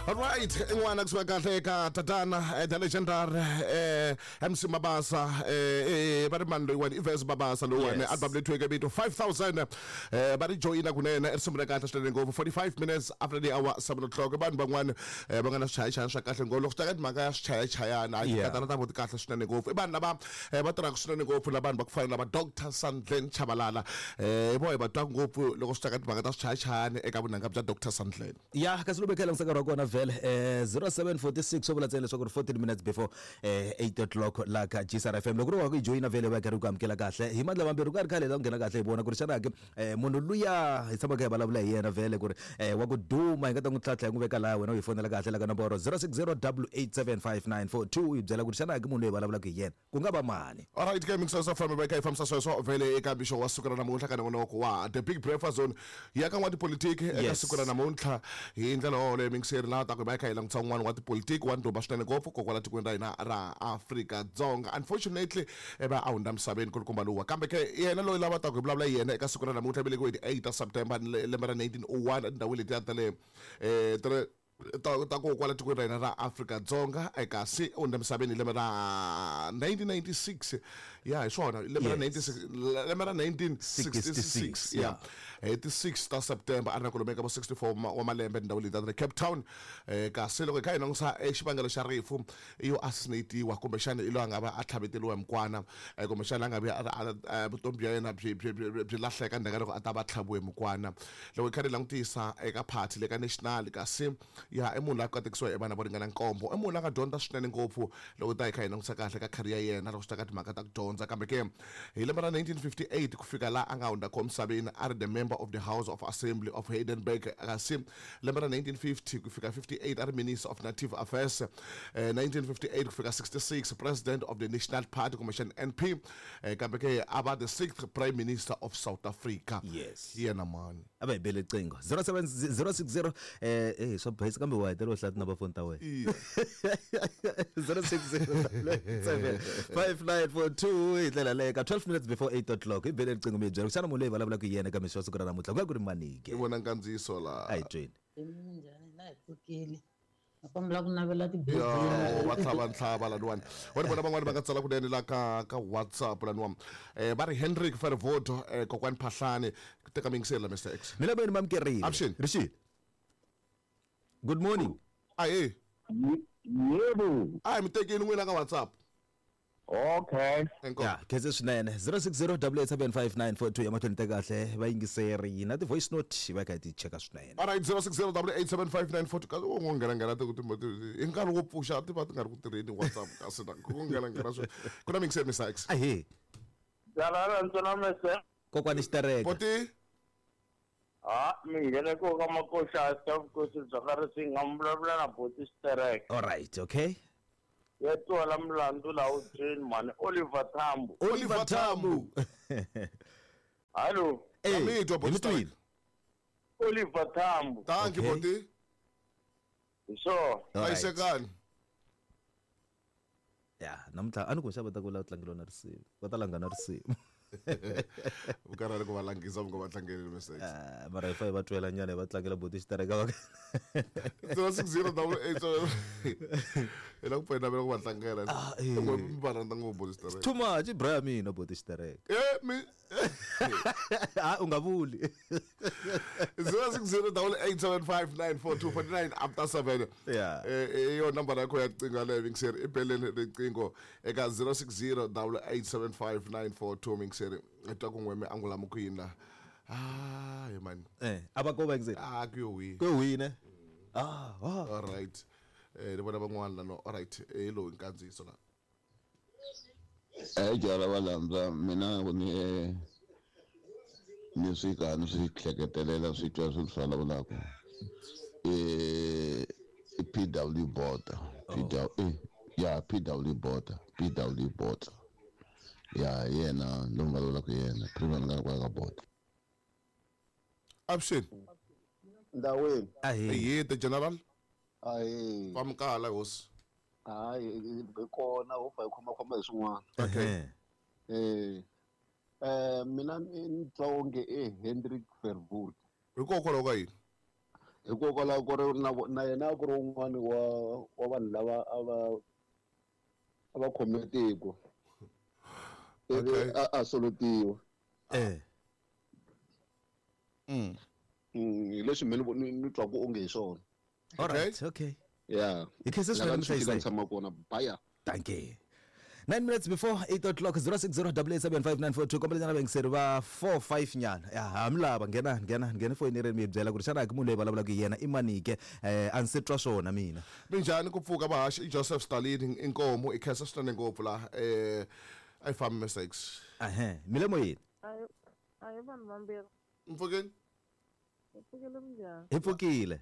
Alright, n'wana kusuka kahle eka tatana the legendary MC Mabasa va ri mani loyiwani i Verse Mabasa loyiwani album leyi thyiweke vito 5000 va ri joyina kunene i risimu ra kahle swinene ngopfu 45 minutes after the hour 7 o'clock. Vanhu van'wana va nga na swichayachayana swa kahle ngopfu loko swi ta ka timhaka ya swichayachayana hayi tikatana ta vo ti kahle swinene ngopfu. I vanhu lava va tirhaka swinene ngopfu na vanhu va ku fana na va Dr Sandlen Chabalala hi voho hi va twaka ngopfu loko swi ta ka timhaka ta swichayachayani eka vunanga bya Dr Sandlen. Ya kasi loko hi kha hi langutisa nkarhi wa kona vhele 0746 swo vula ntsena leswaku ri 14 minutes before 8 o'clock laha ka GCR FM. Loko ri wa ku yi joyina vhele va karhi ku amukela kahle hi mandla mambirhi ku nga ri khale hi ta ku nghena kahle hi vona ku ri xana ke munhu luya hi tshamaka hi vulavula hi yena vhele ku ri wa ku duma hi nga ta n'wi tlhantlha hi n'wi veka laha wena u hi fonela kahle la ka nomboro 0608875942 hi byela ku ri xana ke munhu loyi hi vulavulaka hi yena ku nga va mani. Alright ke mixer sa famba va kha hi fambisa sweswo vhele eka mixo wa siku ra namuntlha ka nongonoko wa The Big Breakfast Zone ya ka n'watipolitiki eka siku ra namuntlha hi ndlela yoleyo mixeri laha ta ku hi va hi kha hi langutisa un'wana wa tipolitiki wa ndhuma swinene ngopfu kokwala tikweni ra hina ra Afrika-Dzonga. Unfortunately va a hundza misaveni kulukumba luwa, kambe ke yena loyi lava ta ku hi vulavula hi yena eka siku ra namuntlha velekiwe hi ti 8 ta September lembe ra 1901 etindhawini letiya ta le ta ta ku kwala tikweni ra hina ra Afrika-Dzonga, kasi u hundza misaveni hi lembe ra 1996. Ya hi swona lembe ra 96, lembe ra 1966, ya hi ti 6 ta September a ri na kwalomu ka vo 64 wa malembe etindhawini leti ta le Cape Town. Kasi loko hi kha hi langutisa xivangelo xa rifu i yo assassinatiwa, kumbexana i loyi a nga va a tlhaveteriwa hi mukwana, kumbexana a nga vi vutomi bya yena byi byi byi byi lahleka ndzhaku ka loko a ta va tlhaviwe hi mukwana. Loko hi kha hi langutisa eka party le ka National, kasi ya i munhu loyi a katekisiwa hi vana vo ringana nkombo, i munhu loyi a nga dyondza swinene ngopfu loko ta hi kha hi langutisa kahle ka career ya yena loko swi ta ka timhaka ta ku dyondza. Kambe ke hi lembe ra 1958 ku fika laha a nga hundza kona misaveni a ri the member of the House of Assembly of Heidelberg, kasi lembe ra 1950 ku fika 58 a ri Minister of Native Affairs, 1958 ku fika 66 President of the National Party kumbexana NP, kambe ke a va the sixth Prime Minister of South Africa. Yes. Hi yena mani? A va hi bele riqingho 07060 swa bayisa kambe wa hetelela u hlaya tinumber phone ta wena. 06075942 hi ndlela leyo ka 12 minutes before 8 o'clock hi bele riqingho mi hi byela ku xana munhu loyi hi vulavulaka hi yena eka mixo wa siku ra namuntlha ku nga ku ri mani ke? Ni vona nkandziyiso la. A hi tweni. Minjhani na hi pfukile. Na kombela ku navela ti Yo, va tlhava ntlhava laniwani. Wa ni vona van'wani va nga tsala kunene la ka ka WhatsApp laniwa. Va ri Hendrik Verwoerd, kokwani Phahlane, teka miyingiseri la Mister X. Mina veni mamkerile. Avuxeni. Rixile. Good morning. Ahee. Yebo. A hi mi tekeni n'wina ka WhatsApp. Okay. Inkomu. Ya, khense swinene. 0608875942 ya mahlweni ta kahle vayingiseri na ti-voice note va kha hi ti cheka swinene. Alright, 0608875942 kasi u ngo nghena nghena ti ti hi nkarhi wo pfuxa ti va ti nga ri ku tirheni WhatsApp kasi na ku nghena nghena swi ku na miyingiseri Mister X. Ahee. Jalala ntsena mese. Kokwani Xitereka. Boti. Ha, mi nghene ko ka makoxa ta vukosi bya ka Risinga mi vulavula na Boti Xitereka. Alright, okay. Ya twala mulandzu laha wu byeni mhani Oliver Tambo. Oliver Tambo. Hallo. Eh, Mi twa hi Boti mi twile. Xitereka. Oliver Tambo. Thank you Okay. Boti. Hi swona. Alright. Hlayisekani. Ya, namuntlha a ni ku xava ta ku la tlangeliwa na risimu. Va ta langa na risimu. Vukarhali ku va langisa mi nga va tlangeli Mister X. Ah, mara hi fa hi va twela nyana hi va tlangela Boti Xitereka va 0608 hi la ku pfa hi navela ku va tlangela. Ah, eh. N'we mi va rhandza ngopfu Boti Xitereka. Too much i bra ya mina Boti Xitereka. Mi Ah, u nga vuli. 0608875942 49 after 7. Yeah. Yo nambara yakho ya riqingho yaleyo mingiseri i beleni riqingho eka 0608875942 mingiseri hi twa ku n'we mi angula mi ku yini la. Ah, hi mani. A va ko va yingiseri. Ah, ku yo wihi. Ku yo wihi ne? Ah, ah. All right. Ni vona van'wana la no. All right. Lowu nkandziyiso la. Jala va landza mina ni ni swi ka ni swi hleketelela swi twa swi swi vulavulaka. I PW Botha. PW, ya PW Botha, PW Botha. Ya yena loyi nga vulavulaka yena, Prima nga kwala ka Botha. Avuxeni. Ndaweni. Ahee. Ahee, the general. Ahee. Famukala hosi. Hayi, hi kona ho pfa hi khoma khoma hi swin'wana. Okay. Mina ni twa onge i Hendrik Verwoerd. Hikokwalaho ka yini? Hikokwalaho ku ri na na yena a ku ri wun'wani wa vanhu lava a va khome tiko. Ivi a solotiwa. Hi leswi me ni twaku onge hi swona. All right, okay. Yeah. Hi khense swinene. Lava ni Muhlayiseki. Tshama kona baya. Thank you. 9 minutes before 8 o'clock, 060 875 kombela nyana vayingiseri va 4 5 nyana ya ha mi lava nghena nghena nghena foyini ri mi byela ku ri xana ki munhu loyi vulavulaka hi yena i manike a ndzi se twa swona mina. Minjhani ku pfuka vahaxi? I Joseph Stalin inkomu i khensa swinene ngopfu laha a yi fambi mesex. Ehe, mi le moyeni. A hi vanhu vambirhi. Mpfukeni. Hi pfukile, minjhani? Hi pfukile.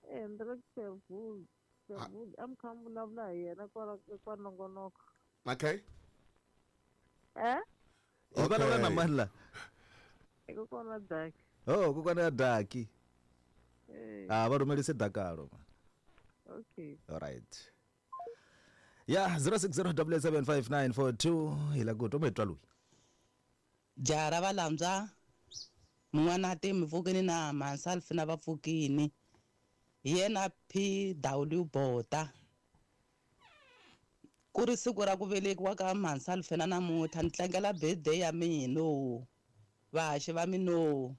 Hendrik Verwoerd, Verwoerd a mi kha mi vulavula hi yena kwala kwa nongonoko. Eh. Hi vulavula na mani la? I kokwana Daki. Oh, kokwana ya Daki. Eh. A va rhumelise dakalo. Okay. All right, ya 060 875 hi la ku twa mi twa loyi. Jaha ra valambya mun'wana ti mi pfukini na Mansalfi na va pfukini hi yena PW Bota. Ku ri siku ra ku velekiwa ka Mansalfi na namuntlha ni tlangela birthday ya mina, vahaxi va mino,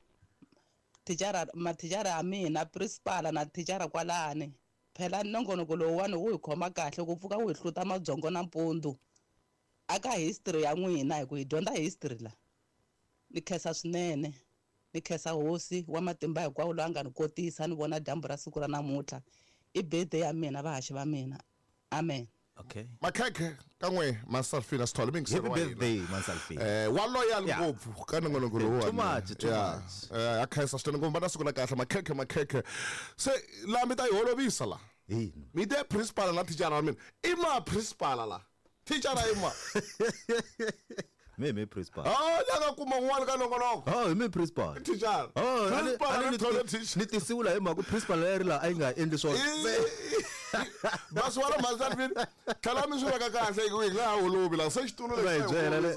thicara, mathicara ya mina, principal na thicara kwalani. Phela nongonoko lowuwani wu hi khoma kahle ku pfuka wu hi hluta mabyongo nampundzu aka history ya n'wina, hi ku hi dyondza history la. Ni khensa swinene, ni khensa hosi wa matimba hinkwawo loyi a nga ni kotisa ni vona dyambu ra siku ra namuntlha. I birthday ya mina, vahaxi va mina, amen. Okay. Makhekhe kan'we Masalfina Sithole. Happy birthday, Mansalfina. Wa loyal ngopfu ka nongonoko lowuwani. Too much, too much. A khensa swinene ngopfu, va na siku la kahle, makhekhe, makhekhe. Se laha mi ta yi holovisa la. Yini? Mi te principal na thicara wa mina. I ma principal la, thicara i ma? Mi principal. Ah, la nga kuma un'wana ka nongonoko. Oh, hi mi principal. Thicara. Oh, Principal ani na ni thole teacher. Ni tisiwula hi mhaka ku principal leri la a yi nga endli swona. Basi wala Masalfina, tlhela mi swi veka kahle hi ku hi nga ha holovi la se xitulu. Va hi byela le.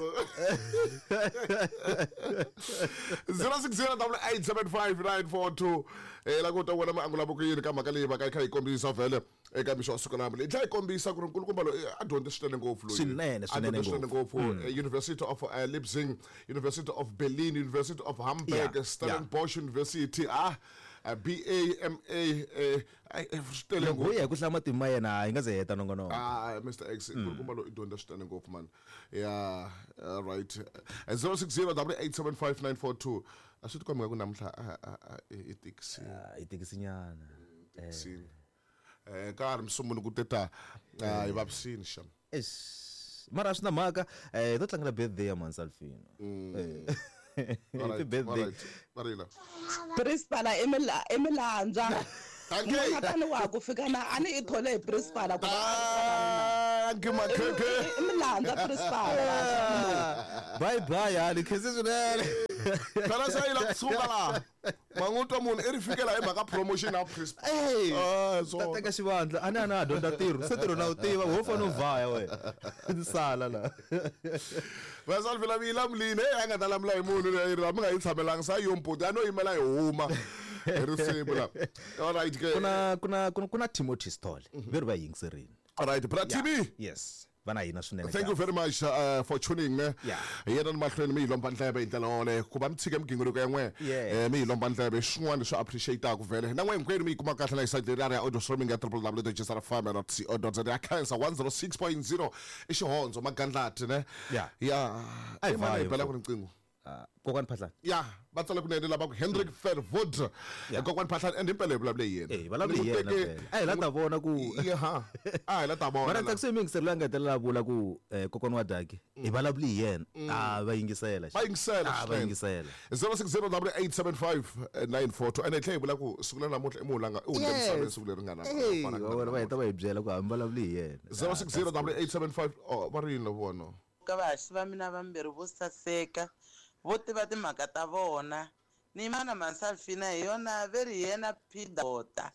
060 875 942 la ku ta vona maangulo ku yini ka mhaka leyi va ka yi kha yi kombisa vhele eka mixo wa siku namuntlha. Yi tlhela yi kombisa ku ri nkulukumba loyi a dyondze swinene ngopfu loyi. Swinene, A swinene dyondze swinene ngopfu. ngopfu. University of Leipzig, University of Berlin, University of Hamburg, Stellenbosch University, BA, MA, swi tele Loko ngopfu. hi ya hi ku hlaya matimu ma yena hi nga ze heta nongonoko. Ah, Mr X, nkulukumba loyi i dyondza swinene ngopfu man. Yeah, all right. 060 875 942. A swi tikombi nga ku namuntlha i tikisini. Ah, i tikisinyana. Tikisini. Ka ha ri musunguli ku teta hi vavisini xa. Eish, mara a swi na mhaka, hi to tlangela birthday ya Mansalfino. Happy birthday. Marila. Principal i milandzwa. Thank you. Mun'wana wa ha ku fika na a ni i thole hi principal ku va Thank you, makhekhe. i milandzwa principal. Bye bye, yani khense swinene. Phela se yi la kusuka laha. Man'utwa munhu i ri fikela hi mhaka promotion ya principal. Hey, Ah, ta teka xivandla a ni ha dyondza ntirho se ntirho na wu tiva wo fane u vhaya wena ni sala la. Vasalvela mi yi lamulini, hey, a nga ta lamula hi munhu leyi ri mi nga yi tshamelanga sa yo mputi a no yimela hi huma hi risimu la. All right ke. Ku na Timothy Sithole ve ri va yingiserini. All right, bra TB. Yes, va na hina swinene. Thank you kahle. very much for tuning ne. Hi yena ni mahlweni mi yi lomba ndleve hi ndlela yoleyo ku va mi tshike migingiriko ya n'we. Mi yi lomba ndleve swin'wana leswi appreciate-aku vhele na n'we hinkwenu mi yi kuma kahle na hi site leri ya audio streaming ya www.jsrfm.co.za. Ya khensa 106.0 i xihondzo magandlati ne. Yeah. Ya. A hi I mani vayi hi bela mfo. ku riqingho? Ah, Kokwani Phahlane. Ya, va tsale kunene lava ku Hendrik Verwoerd. Kokwani Phahlane and impela hi vulavule hi yena. Eh, vulavule hi yena vhele. A hi la ta vona ku ya a hi la ta vona mara la. tsakise mi yingiseri loyi a nga hetelela a vula ku kokwani wa daki hi vulavule hi yena, a va yingisela. Va yingisela. A va yingisela. 060 875 942 ene hi tlhela hi vula ku siku la namuntlha i munhu la nga i hundze misaveni siku leri nga na Hey, va vona va heta va hi byela ku hambi vulavule hi yena. 060 875. Oh, va ri yini lavo vona? Ka vahaxi va mina vambirhi vo saseka vo tiva timhaka ta vona ni mana Mansalfina hi yona ve ri hi yena Pidota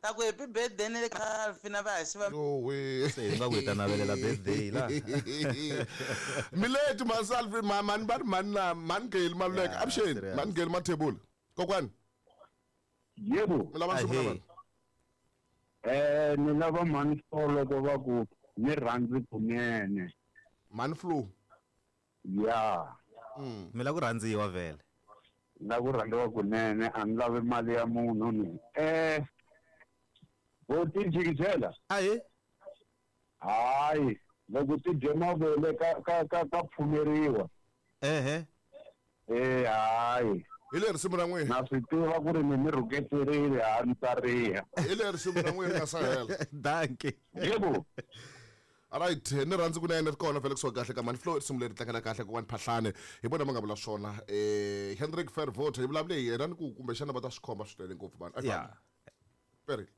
ta ku happy birthday ni le ka Salfina vahaxi va. Yowe. Se hi nga ku hi ta navelela birthday la. Mileti Masalfi mani va ri mani na mani Geli Maluleke. Yeah, Avuxeni. serious. Mani Geli Mathebula kokwani. Yebo. Mi lava nsimu na Ahee. vanhu? Ni lava mhani loko va ku ni rhandzi kunene. Mhani Flo. Ya. Mi lava ku rhandziwa vhele. La ku rhandziwa kunene a ni lavi mali ya munhu ni. Boti jikijela. Ahee. Hayi, loko ti dye mavele ka pfumeriwa. Ehe. Hayi. Hi le risimu ra n'wina. Na swi tiva ku ri mi rhuketerile ha ni tsariha. Hi le risimu ra n'wina ri nga sa hela. Dankie. Yebo. Alright, ni rhandzi kunene ri kona vhele kusuka kahle ka Mhani Flo risimu leri tlangela kahle kokwani Phahlane hi vona va nga vula swona Hendrik Verwoerd hi vulavule hi yena ni ku kumbexana va ta swi khoma swinene ngopfu vanhu. Yeah. Perile.